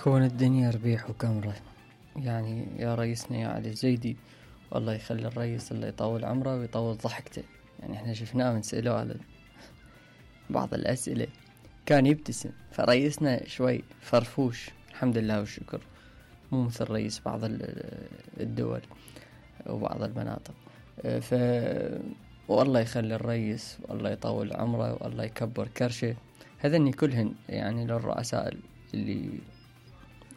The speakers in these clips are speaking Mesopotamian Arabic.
كون الدنيا ربيع وكمرة. يعني يا رئيسنا يا علي الزيدي، والله يخلي الرئيس الله يطول عمره ويطول ضحكته. يعني احنا شفناه من سألوه على بعض الأسئلة كان يبتسم، فرئيسنا شوي فرفوش الحمد لله والشكر، مو مثل رئيس بعض الدول وبعض المناطق. والله يخلي الرئيس والله يطول عمره والله يكبر كرشه. هذني كلهن يعني للرؤساء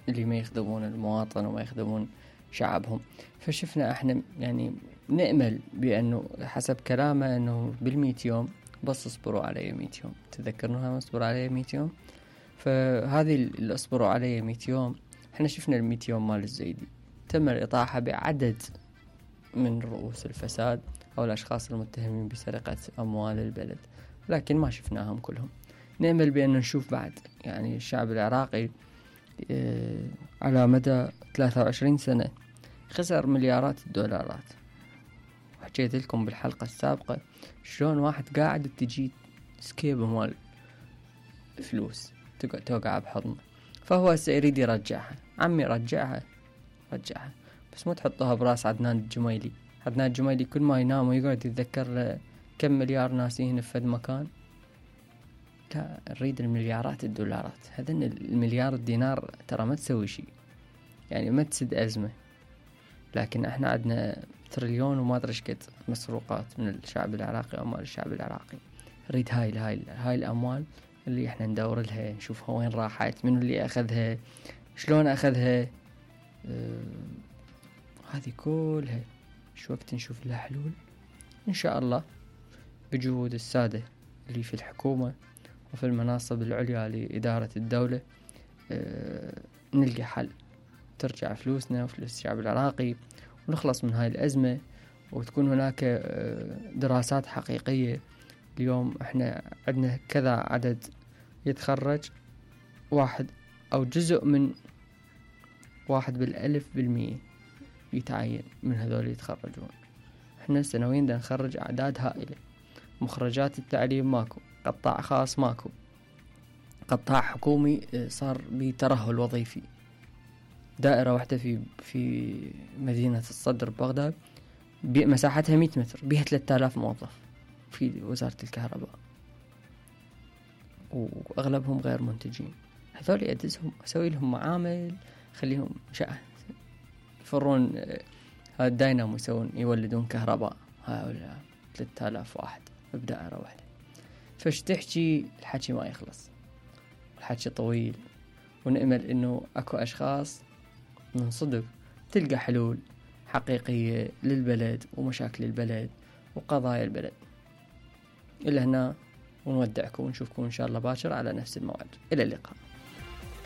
اللي ما يخدمون المواطن وما يخدمون شعبهم. فشفنا احنا يعني نأمل بأنه حسب كلامه انه بال100 يوم بس اصبروا علي 100 يوم. تذكرناها اصبروا علي 100 يوم. فهذه اللي اصبروا علي 100 يوم احنا شفنا ال100 يوم مال الزيدي تم الإطاحة بعدد من رؤوس الفساد او الاشخاص المتهمين بسرقة اموال البلد، لكن ما شفناهم كلهم. نأمل بأن نشوف بعد يعني الشعب العراقي على مدى 23 سنة خسر مليارات الدولارات. وحكيت لكم بالحلقة السابقة شلون واحد قاعد تجي سكيبه مال فلوس توقع بحضنه، فهو سيريد يرجعها. عمي رجعها بس مو تحطوها براس عدنان الجميلي. عدنان الجميلي كل ما ينام ويقعد يتذكر كم مليار ناسين في فد مكان. لا، نريد المليارات الدولارات. هذن المليار الدينار ترى ما تسوي شيء، يعني ما تسد أزمة، لكن احنا عندنا تريليون وما ادري قد مسروقات من الشعب العراقي، أموال الشعب العراقي. نريد هاي الأموال اللي احنا ندور لها، نشوفها وين راحت، منو اللي أخذها، شلون أخذها. هذه كلها شو وقت نشوف لها حلول إن شاء الله بجهود السادة اللي في الحكومة وفي المناصب العليا لإدارة الدولة. نلقى حل، ترجع فلوسنا وفلوس الشعب العراقي ونخلص من هاي الأزمة، وتكون هناك دراسات حقيقية. اليوم احنا عندنا كذا عدد يتخرج، واحد أو جزء من 1% يتعين من هذول يتخرجون. احنا سنويا دا نخرج أعداد هائلة. مخرجات التعليم ماكو، قطاع خاص ماكو، قطاع حكومي صار بترهل وظيفي. دائرة واحدة في مدينة الصدر ببغداد مساحتها 100 متر بها 3000 موظف في وزارة الكهرباء، وأغلبهم غير منتجين. هذول أدزهم أسوي لهم معامل، خليهم يفرون الداينامو يولدون كهرباء. هؤلاء 3000 واحد بدائرة واحدة. فش تحكي الحكي ما يخلص، الحكي طويل، ونأمل إنه أكو أشخاص من صدق تلقى حلول حقيقية للبلد ومشاكل البلد وقضايا البلد. إلى هنا ونودعكم ونشوفكم إن شاء الله باكر على نفس الموعد. إلى اللقاء.